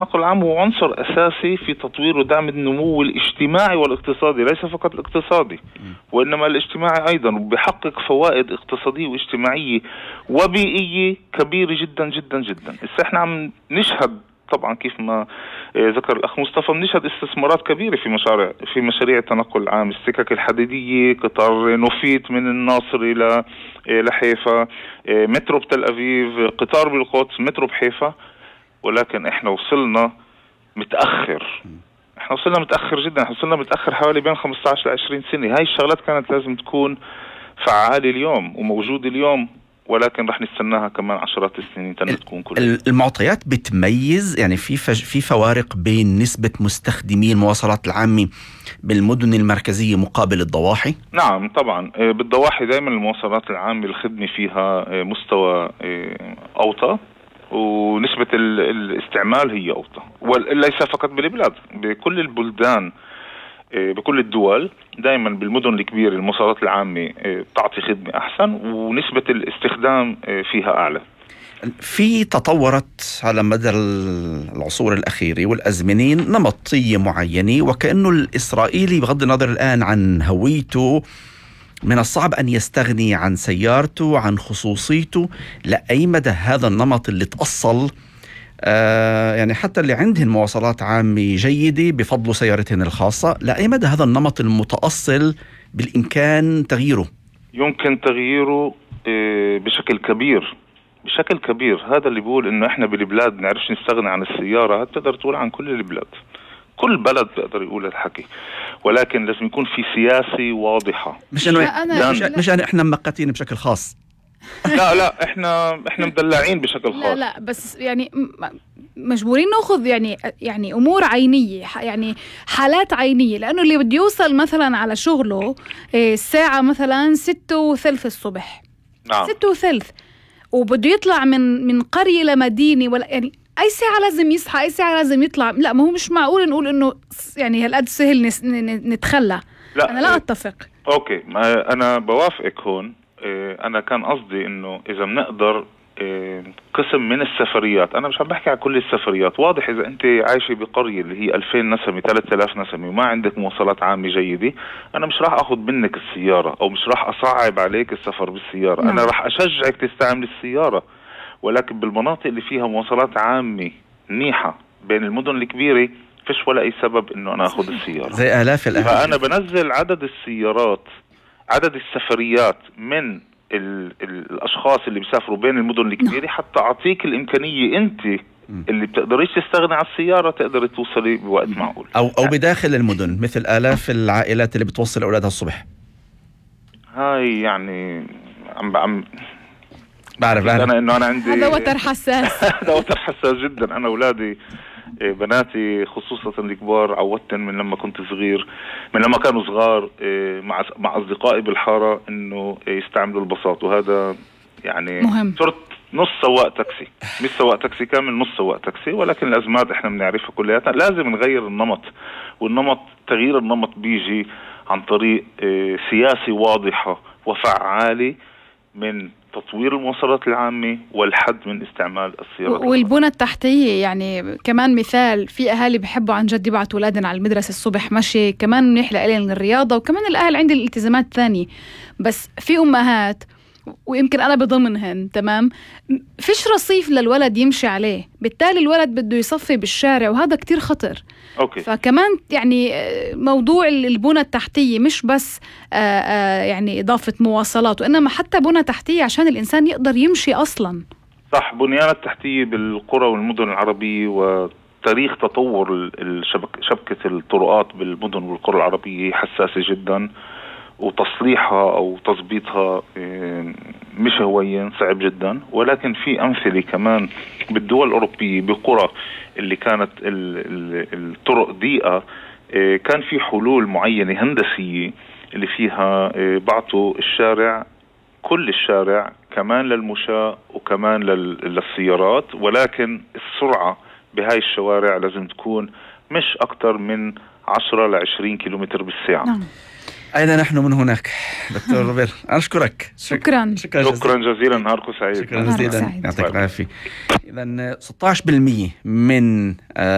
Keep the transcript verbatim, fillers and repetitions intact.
النقل العام هو عنصر أساسي في تطوير ودعم النمو الاجتماعي والاقتصادي، ليس فقط الاقتصادي وإنما الاجتماعي أيضا، وبيحقق فوائد اقتصادية واجتماعية وبيئية كبيرة جدا جدا جدا. إذا احنا عم نشهد طبعا كيف ما ذكر الأخ مصطفى، بنشهد استثمارات كبيرة في مشاريع في مشاريع التنقل العام، السكك الحديدية، قطار نوفيت من الناصر إلى لحيفا، مترو بتل أبيب، قطار بالقدس، مترو بحيفا. ولكن احنا وصلنا متأخر، احنا وصلنا متأخر جدا، احنا وصلنا متأخر حوالي بين خمسة عشر ل عشرين سنة. هاي الشغلات كانت لازم تكون فعالة اليوم وموجودة اليوم، ولكن رح نستناها كمان عشرات السنين تكون كلها. المعطيات بتميز، يعني في فج... في فوارق بين نسبة مستخدمي المواصلات العامة بالمدن المركزية مقابل الضواحي؟ نعم طبعا، بالضواحي دائما المواصلات العامة الخدمة فيها مستوى أوطى، ونسبة الاستعمال هي أوطى، وليس فقط بالبلاد، بكل البلدان، بكل الدول. دائما بالمدن الكبيرة المواصلات العامة تعطي خدمة أحسن ونسبة الاستخدام فيها أعلى. في تطورت على مدى العصور الأخيرة والأزمنين نمطية معينة، وكأنه الإسرائيلي بغض النظر الآن عن هويته من الصعب أن يستغني عن سيارته، عن خصوصيته. لأي مدى هذا النمط اللي تأصل آه يعني حتى اللي عندهن مواصلات عامة جيدة بفضل سيارتهن الخاصة، لأي مدى هذا النمط المتأصل بالإمكان تغييره؟ يمكن تغييره بشكل كبير بشكل كبير. هذا اللي بيقول إنه إحنا بالبلاد نعرفش نستغني عن السيارة، تقدر تقول عن كل البلاد، كل بلد بيقدر يقول الحكي، ولكن لازم يكون في سياسة واضحة. مش انه أنا مش, مش أنا احنا مقاتين بشكل خاص. لا لا احنا احنا مدلعين بشكل خاص. لا لا بس يعني مجبورين ناخذ يعني يعني امور عينيه، يعني حالات عينيه، لانه اللي بده يوصل مثلا على شغله الساعه مثلا ستة وثلث الصبح، نعم ستة وثلث، وبده يطلع من من قريه لمدينه، ولا يعني اي ساعه لازم يصحى، اي ساعه لازم يطلع. لا، ما هو مش معقول نقول انه يعني هالقد سهل نتخلى. لا انا لا اتفق. اوكي، ما انا بوافقك هون. انا كان قصدي انه اذا بنقدر قسم من السفريات، انا مش عم بحكي على كل السفريات. واضح اذا انت عايشه بقريه اللي هي ألفين نسمه ثلاثة آلاف نسمه وما عندك مواصلات عامه جيده، انا مش راح اخذ منك السياره او مش راح اصعب عليك السفر بالسياره. نعم. انا راح اشجعك تستعمل السياره، ولكن بالمناطق اللي فيها مواصلات عامه منيحه بين المدن الكبيره فيش ولا اي سبب انه انا اخذ السياره. زي آلاف الأهل. فانا بنزل عدد السيارات، عدد السفريات من ال ال الاشخاص اللي بيسافروا بين المدن الكبيره، حتى اعطيك الامكانيه انت اللي بتقدريش تستغني عن السياره تقدر توصلي بوقت معقول، او او بداخل المدن، مثل آلاف العائلات اللي بتوصل اولادها الصبح. هاي يعني عم عم بعرف بعرف انا انه انا عندي هذا وتر حساس. هذا وتر حساس جدا. انا اولادي بناتي خصوصا الكبار عودتن من لما كنت صغير، من لما كانوا صغار مع مع اصدقائي بالحاره انه يستعملوا الباصات، وهذا يعني مهم. صرت نص سواق تاكسي، مش سواق تاكسي كامل، نص سواق تاكسي. ولكن الازمات احنا بنعرفها كلياتها، لازم نغير النمط، والنمط تغيير النمط بيجي عن طريق سياسة واضحة وفعالة من تطوير المواصلات العامة والحد من استعمال السيارات والبنى التحتية. يعني كمان مثال، في أهالي بحبوا عن جد يبعتوا أولادنا على المدرسة الصبح مشي، كمان نحلق لهم الرياضة، وكمان الأهل عندي الالتزامات الثانية. بس في أمهات ويمكن أنا بضمنهن، تمام، فيش رصيف للولد يمشي عليه، بالتالي الولد بده يصفي بالشارع، وهذا كتير خطر. أوكي. فكمان يعني موضوع البنى التحتية مش بس آآ آآ يعني إضافة مواصلات، وإنما حتى بنى تحتية عشان الإنسان يقدر يمشي أصلا. صح، بنيان التحتية بالقرى والمدن العربية وتاريخ تطور الشبك شبكة الطرقات بالمدن والقرى العربية حساسة جدا، وتصليحها أو تظبيطها مش هوين، صعب جدا. ولكن في أمثلة كمان بالدول الأوروبية بقرى اللي كانت الطرق ضيقة، كان في حلول معينة هندسية اللي فيها بعطوا الشارع، كل الشارع كمان للمشاة وكمان للسيارات، ولكن السرعة بهاي الشوارع لازم تكون مش أكتر من عشرة لعشرين كيلومتر بالساعة. نعم. أين نحن من هناك دكتور روبير؟ أنا أشكرك. شكرا شكرا شكرا جزيلا. جزيلا، نهاركم سعيد. شكرا نهارك جزيلا، سعيد. يعطيك العافية. إذا ستة عشر بالمئة من